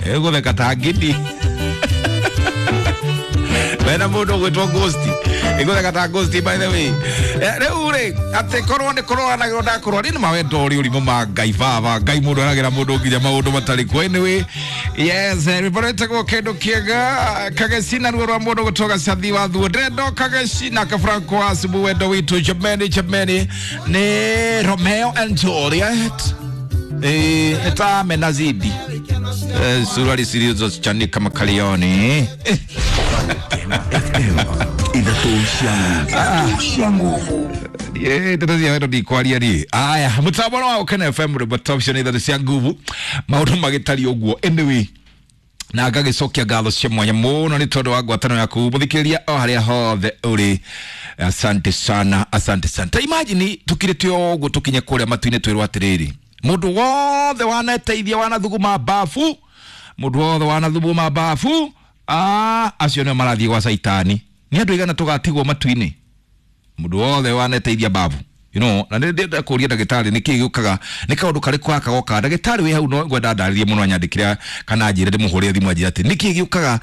Ĩgũtheka ta ngidi. Wena mũndũ ũgwĩtwo Ghost. Ĩgũtheka ta Ghost, by the way. Rĩu rĩ, atĩ korwo nĩ kũrũanagĩrwo ndakũrũa nĩ mawendo ũrĩ ũrimũ ma Ngai baba Ngai mũndũ eragĩra mũndũ nginya maũndũ matarĩ kuo. Anyway, yes, rwĩmbo rwĩtagwo kĩndũ kĩega kageci na ruo rwa mũndũ gũtwo gacathi wa thuo ndĩrenda kageci nake Franco wa Subu wendo witũ jameni jameni nĩ Romeo and Juliet. Nĩ ta menazidi. Suruali zilizochanika makalioni. FM ithatũ cia nguvu. Ndeto cia wendo ndikwaria niĩ. Aya, mũtambo wa Ũkena FM, rwĩmbo top cia ithatũ cia nguvu, maũndũ magĩtariĩ ũguo. Anyway, na ngagĩcokia ngatho cia mwanya mũno nĩ tondũ wa ngwatanĩro yaku mũthikĩrĩria o harĩa hothe ũrĩ. Asante sana, asante sana. Ta imagine tũkirĩte ũguo tũkinye kũrĩa matu-inĩ twĩrwo atĩrĩrĩ, mũndũ wothe wanateithia wanathuguma bafu, mũndũ wothe wanathuguma bafu, acio nĩo marathiĩ gwa caitani. Nĩ andũ aigana tũgatigwo matu-inĩ? Mũndũ wothe waneteithia babu, na nĩ ndĩrenda kũria ndagĩtarĩ nĩkĩ gĩũkaga, nĩ kaũndũ karĩkũ gaka gokaga. Ndagĩtarĩ wĩ hau no ngwenda ndarĩrie mũno, anyandĩkĩre kana anjĩre ndĩmũhũrĩre thimũ anjĩre atĩ nĩkĩ gĩũkaga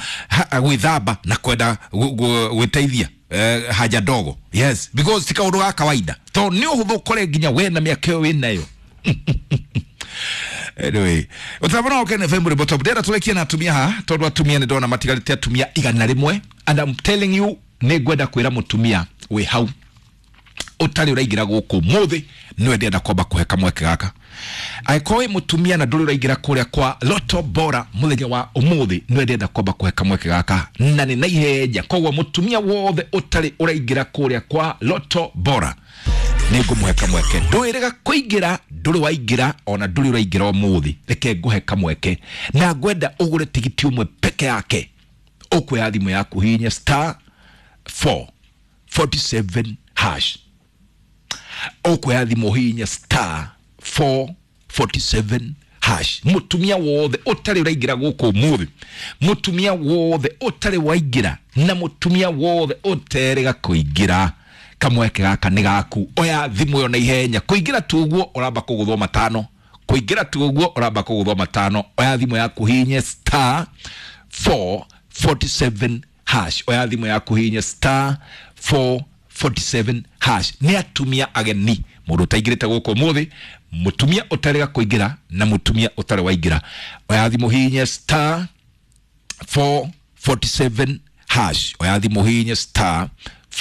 gwĩthamba na kwenda gwĩteithia haja ndogo. Yes, because ti kaũndũ ga kawaida, tondũ nĩ ũhũthũ ũkore nginya we na mĩaka ĩyo wĩ nayo. Anyway, ũtambo no Ũkena FM rwĩmbo top. Ndĩrenda tũrekie na atumia haha, tondũ atumia nĩ ndona matigarĩte atumia 100, and I'm telling you, nĩ ngwenda kwĩra mũtumia wĩ hau ũtarĩ ũraingĩra gũkũ mũthĩ, nĩwe ndĩrenda kwamba kũhe kamweke gaka. Angĩkorwo wĩ mũtumia na ndũrĩ ũraingĩra kũrĩa kwa Loto Bora mũthenya wa ũmũthĩ, nĩwe ndĩrenda kwamba kũhe kamweke gaka na nĩ na ihenya. Koguo mũtumia wothe ũtarĩ ũraingĩra kũrĩa kwa Loto Bora, nĩ ngũmũhe kamweke. Ndwĩrĩga kũingĩra, ndũrĩ waingĩra, ona ndũrĩ ũraingĩra ũmũthĩ, reke ngũhe kamweke na ngwenda ũgũre tigiti ũmwe peke yake. Ũkuoya thimũ yaku, hihinya star 447 hash. Ũkuoya thimũ, hihinya star 447 hash. Mũtumia wothe ũtarĩ ũraingĩra gũkũ ũmũthĩ, mũtumia wothe ũtarĩ waingĩra na mũtumia wothe ũterĩga kũingĩra, kamweke gaka nĩ gaku. Oya thimũ ĩyo na ihenya. Kũingĩra tu ũguo ũramba kũgũthwo matano, kũingĩra tu ũguo ũramba kũgũthwo matano. Oya thimũ yaku, hihinye star 447 hash. Oya thimũ yaku, hihinye star 447 hash. Nĩ atumia ageni, mũndũ ũtaingĩrĩte gũkũ ũmũthĩ, mũtumia ũtarĩga kũingĩra na mũtumia ũtarĩ waingĩra, oya thimũ, hihinye star 447 hash. Oya thimũ, hihinye star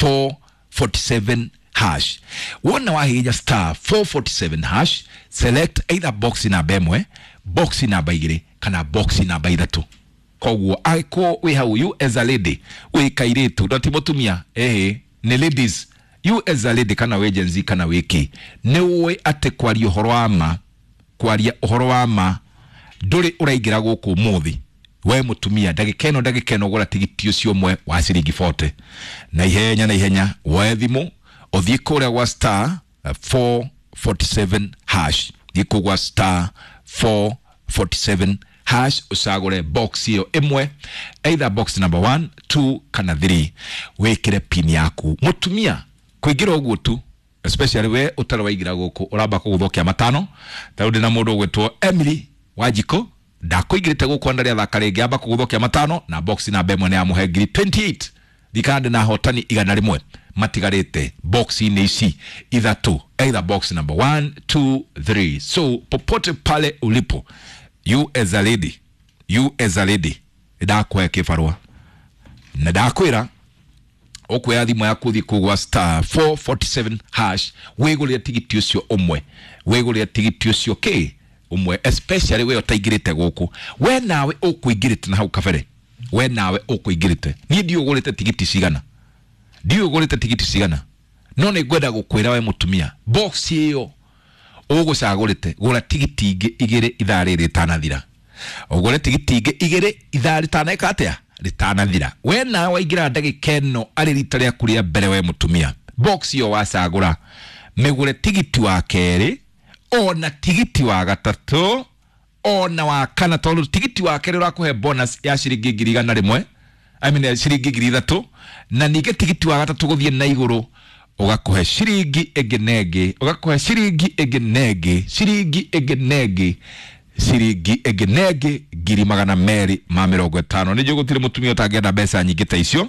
447 hash. Wona wahihinya star 447 hash, select either box namba 1, box namba 2 kana box namba 3. Koguo angĩkorwo wĩ hau, you as a lady, wĩ kairĩtu na ti mũtumia, ĩhĩ nĩ ladies, you as a lady kana wĩ Gen Z kana wĩ kĩ, nĩ ũĩ atĩ kwaria ũhoro wa ma, kwaria ũhoro wa ma, ndũrĩ ũraingĩra gũkũ ũmũthĩ, we mũtumia, ndagĩka ĩno, ndagĩka ĩno, gũra tigiti ũcio ũmwe wa ciringi 40 na ihenya na ihenya. Woe thimũ ũthiĩ kũrĩa gwa star 447 hash, thiĩ kũu gwa star 447 hash, ũcagũre box ĩyo ĩmwe, either box number 1, 2 kana 3, wĩkĩre pin yaku. Mũtumia kũingĩra ũguo tu, especially we ũtarĩ waingĩra gũkũ, ũramba kũgũthwo matano. Ta rĩu ndĩna mũndũ ũgwĩtwo Emily Wanjikũ, ndakũingĩrĩte gũkũ na rĩathaka rĩngĩ, amba kũgũthwo matano na box namba 1 nĩ yamũhe ngiri 28. Ndikana ndĩna ahotani 100 matigarĩte box-inĩ ici ithatũ, either box number 1, 2, 3. So popote pale ulipo, you as a lady, you as a lady, ndakũhe kĩbarũa na ndakwĩra ũkuoya thimũ yaku ũthiĩ kũu gwa star 447 hash, wĩgũrĩre tigiti ũcio ũmwe, wĩgũrĩre tigiti ũcio kĩ ũmwe, especially we ũtaingĩrĩte gũkũ. We nawe ũkũingĩrĩte na hau kabere, we nawe ũkũingĩrĩte, niĩ ndiũ ũgũrĩte tigiti cigana, ndiũ ũgũrĩte tigiti cigana, no nĩ ngwenda gũkwĩra we mũtumia, box ĩyo ũgũcagũrĩte, gũra tigiti ingĩ 2 ithaa rĩrĩ rĩtanathira. Ũgũre tigiti ingĩ 2 ithaa rĩtaneka atĩa, rĩtanathira. We nawe waingĩra ndagĩka ĩno arĩ rita rĩaku rĩa mbere, we mũtumia, box ĩyo wacagũra, mĩgũre tigiti wa kerĩ ona tigiti wa gatatũ ona wa kana, tondũ tigiti wa kerĩ ũrakũhe bonus ya ciringi 100,000, I mean ciringi 3,000, na ningĩ tigiti wa gatatũ gũthiĩ na igũrũ ũgakũhe ciringi ĩngĩ na ĩngĩ, ũgakũhe ciringi ĩngĩ na ĩngĩ, ciringi ĩngĩ na ĩngĩ, ciringi ĩngĩ na ĩngĩ. 250,000. Nĩ njũĩ gũtirĩ mũtumia ũtangĩenda mbeca nyingĩ ta icio,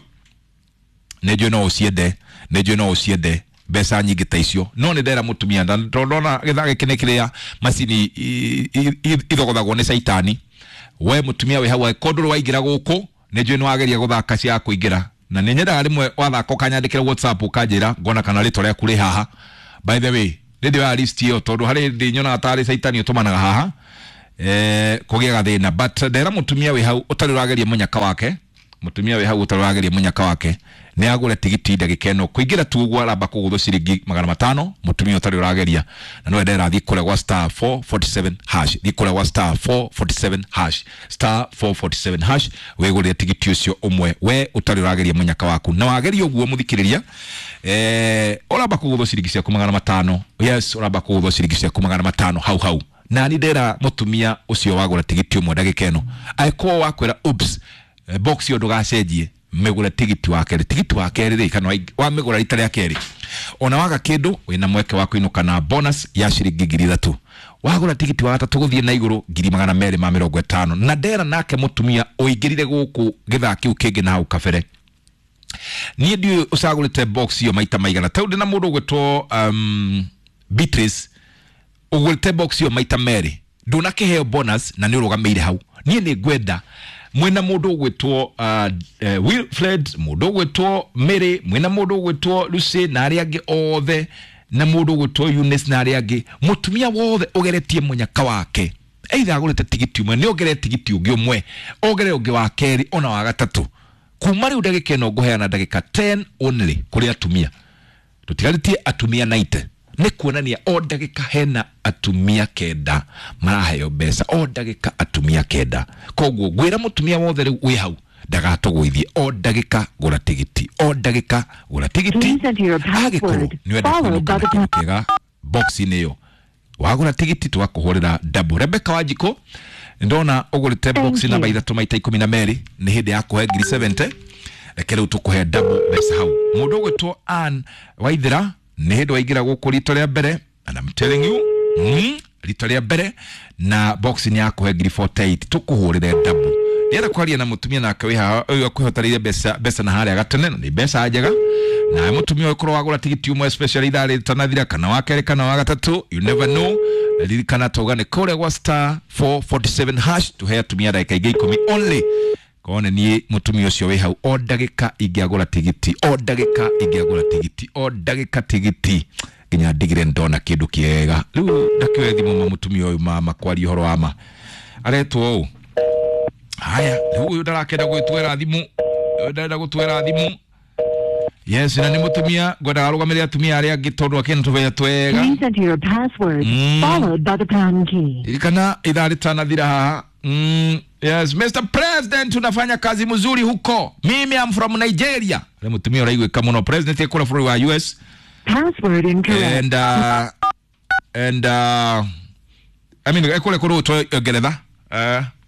nĩ njũĩ no ũciende, nĩ njũĩ no ũciende mbeca nyingĩ ta icio, no nĩ ndera mũtumia tondũ ndona gĩthaa gĩkĩ nĩ kĩrĩa macini ithogothagwo nĩ caitani. We mũtumia wĩ hau, angĩkorwo ndũrĩ waingĩra gũkũ, nĩ njũĩ nĩ wageria gũthaka cia kũingĩra, na nĩ nyendaga rĩmwe wathaka ũkanyandĩkĩra WhatsApp ũkanjĩra ngona kana rĩtwa rĩaku rĩ haha. By the way, nĩ ndĩoya list ĩyo tondũ harĩ hĩndĩ nyonaga tarĩ caitani ũtũmanaga haha, kũgĩa gathĩna. But ndera mũtumia wĩ hau ũtarĩ ũrageria mũnyaka wake, mũtumia wĩ hau ũtarĩ ũrageria mũnyaka wake nĩ agũre tigiti ndagĩka ĩno. Kũingĩra tu ũguo aramba kũgũthwo ciringi 500, mũtumia ũtarĩ ũrageria. Na no ndera thiĩ kũrĩa gwa star 447 hash, thiĩ kũrĩa gwa star 447 hash, star 447 hash, wĩgũrĩre tigiti ũcio ũmwe we ũtarĩ ũrageria mũnyaka waku. Na wageria ũguo mũthikĩrĩria, ũramba kũgũthwo ciringi ciaku 500. Yes, ũramba kũgũthwo ciringi ciaku 500 hau hau. Na ni ndera mũtumia ũcio wagũra tigiti ũmwe ndagĩka ĩno, angĩkorwo wakwĩra oops, box ĩyo ndũgacenjie, mĩgũre tigiti wa kerĩ. Tigiti wa kerĩ rĩ, kana wamĩgũra rita rĩa kerĩ, ona waga kĩndũ wĩna mweke wa kũinũka na bonus ya ciringi 3,000. Wagũra tigiti wa gatatũ gũthiĩ na igũrũ 250,000. Na ndera nake mũtumia ũingĩrire gũkũ gĩthaa kĩu kĩngĩ na hau kabere, niĩ ndiũĩ ũcagũrĩte box ĩyo maita maigana. Tau ndĩ na mũndũ ũgwĩtwo Beatrice, ũgũrĩte box ĩyo maita merĩ, ndũnakĩheo bonus na nĩ ũrũgamĩire hau. Niĩ nĩ ngwenda mwĩna mũndũ ũgwĩtwo Wilfred, mũndũ ũgwĩtwo Mary, mwĩna mũndũ ũgwĩtwo Lucy na arĩa angĩ othe, na mũndũ ũgwĩtwo Eunice na arĩa angĩ, mũtumia wothe ũgeretie mũnyaka wake, either agũrĩte tigiti ũmwe, nĩ ongerere tigiti ũngĩ ũmwe, ongerere ũngĩ wa kerĩ ona wa gatatũ. Kuma rĩu ndagĩka ĩno ngũheana ndagĩka 10 only kũrĩ atumia, tũtigarĩtie atumia 90. Nĩ kuonania o ndagĩka hena atumia 9 maraheo mbeca, o ndagĩka atumia 9. Koguo ngwĩra mũtumia wothe rĩu wĩ hau ndagatũgũithie, o ndagĩka gũra tigiti, o ndagĩka gũra tigiti. Please enter your Angĩkorwo password, nĩ wenda followed kũinũka by na the kĩndũ kĩega box-inĩ ĩyo, wagũra tigiti tũgakũhũrĩra double. Rebecca Wanjikũ, ndona ũgũrĩte Thank box namba you. 3 maita 12, nĩ hĩndĩ ya kũhe 70,000. Reke rĩu tũkũhe double mbeca hau. Mũndũ ũgwĩtwo Ann Waithera, nĩ hĩndĩ waingĩra gũkũ rito rĩa mbere, and I'm telling you, rito rĩa mbere na box nĩ ya kũhe 48,000, tũkũhũrĩre double. Ndĩrenda kwaria na mũtumia nake wĩ haha ũyũ akwĩhotanĩire mbeca na harĩa gatene, na nĩ mbeca njega. Nawe mũtumia ũyũ korwo wagũra tigiti ũmwe especially ithaa rĩtanathira, kana wa kerĩ kana wa gatatũ, you never know. Ririkana tauga nĩ kũrĩa gwa star 447 hash, tũhe atumia ndagĩka ingĩ 10 only. Kone niĩ mũtumia ũcio wĩ hau, o ndagĩka ingĩagũra tigiti, o ndagĩka ingĩagũra tigiti, o ndagĩka tigiti nginya ndigire ndona kĩndũ kĩega. Rĩu ndakĩoe thimũ ma mũtumia ũyũ mama kwaria ũhoro wa ma aretwo ũũ. Haya, rĩu ũyũ ndarakenda gwĩtwera thimũ, ũyũ ndarenda gũtwera thimũ. Yes, na nĩ mũtumia ngwendaga arũgamĩrĩre atumia arĩa angĩ tondũ akĩna tũbeca twega. Please enter your password, followed by the pound key. Ririkana ithaa rĩtanathira haha. Yes, Mr. President, unafanya kazi mzuri huko. Mimi am from Nigeria. Rĩ mũtumia ũraiguĩka mũno. President ekũra bũrũri wa US. Password incorrect. And I mean ekũrĩa kũrĩ gwĩtwo Ngeretha.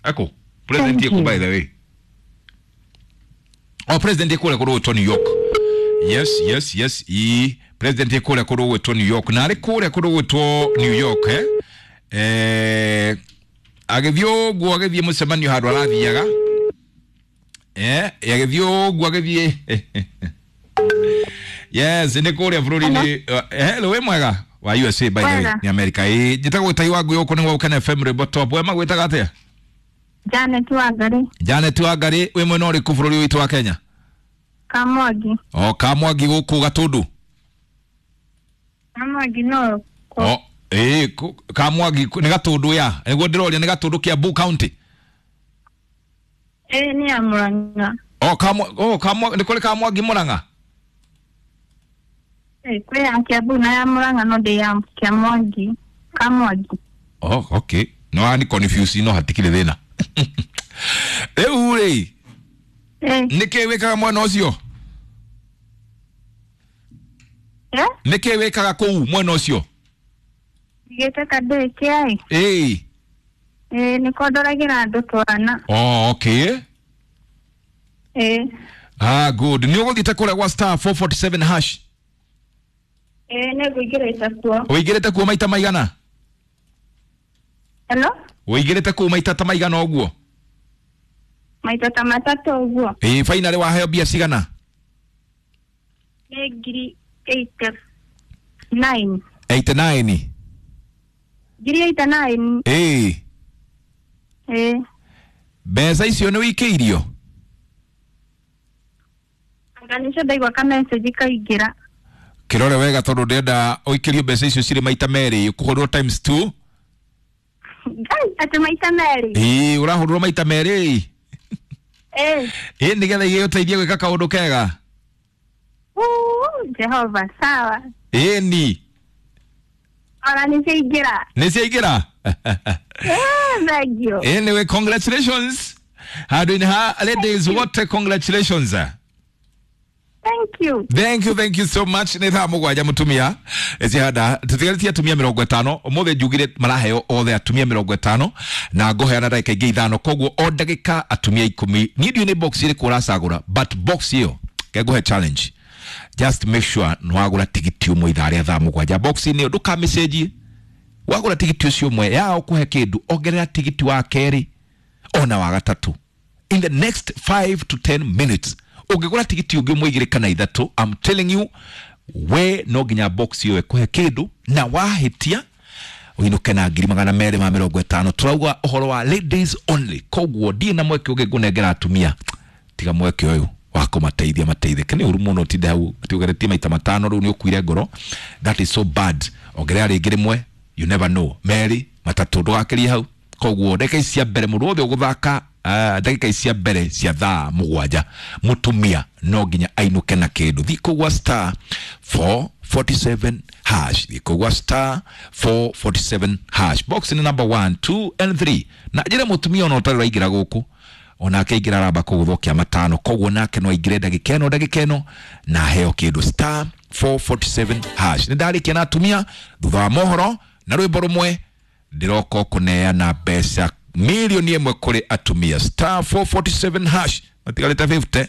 Eko President Thank eko you. by the way. Oh, President ekũrĩa kũrĩ gwĩtwo New York. Yes, yes, yes. I President ekũrĩa kũrĩ gwĩtwo New York. Na arĩ kũrĩa kũrĩ gwĩtwo New York, eh? Agĩthiĩ ũguo agĩthiĩ mũcemanio handũ arathiaga, agĩthiĩ ũguo agĩthiĩ, yes, nĩ kũrĩa bũrũri-inĩ. Hello, wĩ mwega wa USA by the way, Mwega. nĩ America. Ĩ njĩtagwo Gĩtai wa Ngũyũ, gũkũ nĩ gwa Gũkena FM rwĩmbo top. We magwĩtaga atĩa? Janet Wangari. Janet Wangari, wĩ mwena ũrĩkũ bũrũri witũ wa Kenya? Kamwangi. O Kamwangi gũkũ Gatũndũ? Kamwangi no. O ĩ Kamwangi nĩ Gatũndũ ya nĩguo ndĩroria, nĩ Gatũndũ Kiambu County? Ĩ nĩ ya Murang'a. O Kamwa, o Kamwa, nĩ kũrĩ Kamwangi Murang'a? Ĩ kwĩ ya Kiambu na ya Murang'a, no ndĩ ya Kiamwangi. Kamwangi. Oh, okay. No ani confuse, no hatikire thina. Rĩu rĩ, Ĩ. nĩkĩ wĩkaga mwena ũcio? Eh? Nĩkĩ wĩkaga kũu mwena ũcio? Ndigĩte kandĩ kĩai. Ĩĩ. Ĩ nĩko ndoragĩra andũ twana. Oh, okay. Ĩ. Ah, good. Nĩ ũgũthiĩte kũrĩa gwa star 447 hash? Ĩ nĩngũingĩrĩte kuo. Ũingĩrĩte kuo maita maigana? Hello? Ũingĩrĩte kũu maita ta maigana ũguo? Maita ta matatũ ũguo. Ĩĩ, finally waheo mbia cigana? Nĩ ngiri 89. 89. Ngiri 89. Ĩĩ. Ĩĩ. Mbeca icio nĩ wĩikĩirio? Anga nĩcio ndaigua ka message kaingĩra. Kĩrore wega tondũ ndĩrenda ũikĩrio mbeca icio cirĩ maita merĩ, ũkũhũrwo times 2. Ngai, atĩ maita merĩ. Ĩĩ, ũrahũrwo maita merĩ. Ĩĩ. Ĩĩ, nĩgetha igĩgũteithie gwĩka kaũndũ kega. Uu, Jehova, sawa. Ĩĩ ni. Ona nĩciaingĩra. Nĩ ciaingĩra? Ĩĩ, thank you. Anyway, congratulations. Handũ-inĩ ha ladies wote, congratulations. Thank you. Thank you, thank you so much. Nĩ thaa 7 mũtumia cihanda tũtigarĩtie atumia 50 ũmũthĩ njugire maraheo othe atumia 50 na ngũheana ndagĩka ingĩ 5, koguo o ndagĩka atumia 10. Niĩ ndiũĩ nĩ box ĩrĩkũ ũracagũra, but box ĩyo ngengũhe challenge, just make sure nĩ wagũra tigiti ũmwe ithaa rĩa thaa 7. Box-inĩ ĩyo ndũkamĩcenjie, wagũra tigiti ũcio ũmwe yao kũhe kĩndũ, ongerera tigiti wa kerĩ ona wa gatatũ. In the next 5 to 10 minutes ũngĩgũra tigiti ũngĩ ũmwe, igĩrĩ kana ithatũ, I'm telling you, we no nginya box ĩyo ĩkũhe kĩndũ, na wahĩtia ũinũke na 250,000. Tũrauga ũhoro wa ladies only, koguo ndirĩ na mweke ũngĩ ngũnengera atumia tiga mweke ũyũ wa kũmateithia mateithĩke. Nĩ ũru mũno ũtinde hau atĩ ũgeretie maita matano rĩu nĩ ũkuire ngoro. That is so bad. Ongerera rĩngĩ rĩmwe, you never know, merĩ, matatũ, ndũgakĩrie hau. Koguo ndagĩka ici cia mbere mũndũ wothe ũgũthaka, ndagĩka ici cia mbere cia thaa 7 mũtumia no nginya ainũke na kĩndũ. Thiĩ kũgwa star 447 hash, thiĩ kũgwa star 447 hash, box nĩ number 1, 2 and 3. Na njĩra mũtumia ona ũtarĩ ũraingĩra gũkũ, onake aingĩra aramba kũgũthũkia matano, koguo nake no aingĩre ndagĩka ĩno, ndagĩka ĩno na aheo kĩndũ. Star 447 hash. Nĩ ndarĩkia na atumia thutha wa mohoro na rwĩmbo rũmwe ndĩroka kũneana mbeca 1 million kũrĩ atumia. Star 447 hash, matigarĩte 50.